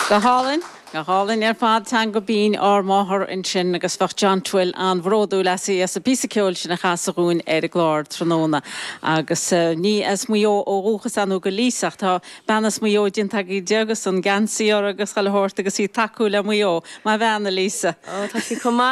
Go hálainn, go hálainn ar fad, teanga binn ár máthar ansin agus bheadh John Twill an-bhródúil as as an bpíosa ceoil sin a chasadh dhúinn ar an gclár tráthnóna. Agus ní as Maigh Eo ó dhúchas ar ndóigh do Lisa ach tá bean as Maigh Eo déanta agaibh di agus an geansaí uirthi agus chuile shórt agus í ag tacú le Maigh Eo. Maith an bhean, a Lisa. Ó, tá sí chomh maith.